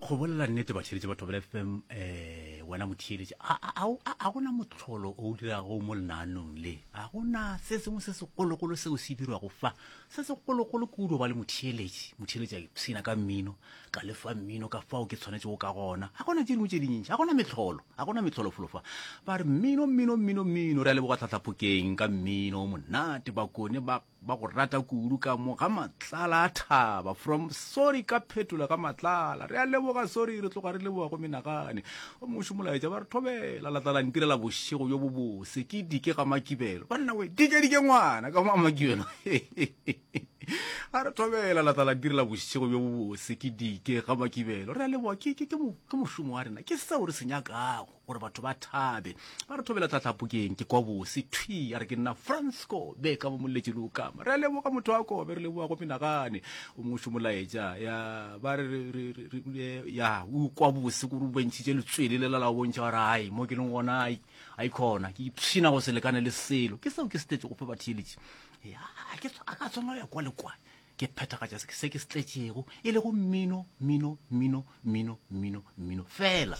Go bolela nnete batheeletši ba Thobela FM, eh, wena motheeletši, a, a, a, a gona mohlolo o dirago mo lenaanong le. A gona se sengwe se segologolo seo se dirwago fa. Se segologolo kudu ba le motheeletši. Motheeletši a ipshina ka mmino, ka lefa mmino ka fao ke tshwanetšego ka gona. A gona tše dingwe tše dintši, a gona mehlolo, a gona mehlolo folo fa. Ba re mmino, mmino, mmino, mmino. Re a leboga Tlhatlhaphokeng ka mmino o monate, Bakone ba Ba go rata kudu ka mo ga Matlala a thaba. From sorry ka phetola ga Matlala. Re a leboga sorry re tloga re leboga go menagane. O mongwe molaetša ba re thobela la tla la ntirela bošego bjo bobose ke dike ga Makibelo. Banna we dike dike ngwana ka mo Makibelo. A re thobela la tla la ntirela bošego bjo bobose ke dike ga Makibelo. Re a leboga ke ke ke mošomo wa rena ke seo re se nyakago. gore batho ba thabe. Ba re thobela tlhatlhapokeng ke kwa bose thwi a re ke nna Fransko be ka mo molletše le okama. Re a leboga motho wa kobe re leboga go menagane o mongwe molaetša ya ba re ya o kwa bose gore o bontšhitše letswele le la la bontšha gore ai mo ke leng gona ai ai khona ke ipshina go se lekane le selo ke seo ke se tletše go fe batheeletši ya ke a ka tshwanela ya kwa le kwa Ke phethagatša se ke se tletšego, e lego mmino, mmino, mmino, mmino, mmino, mmino, feela.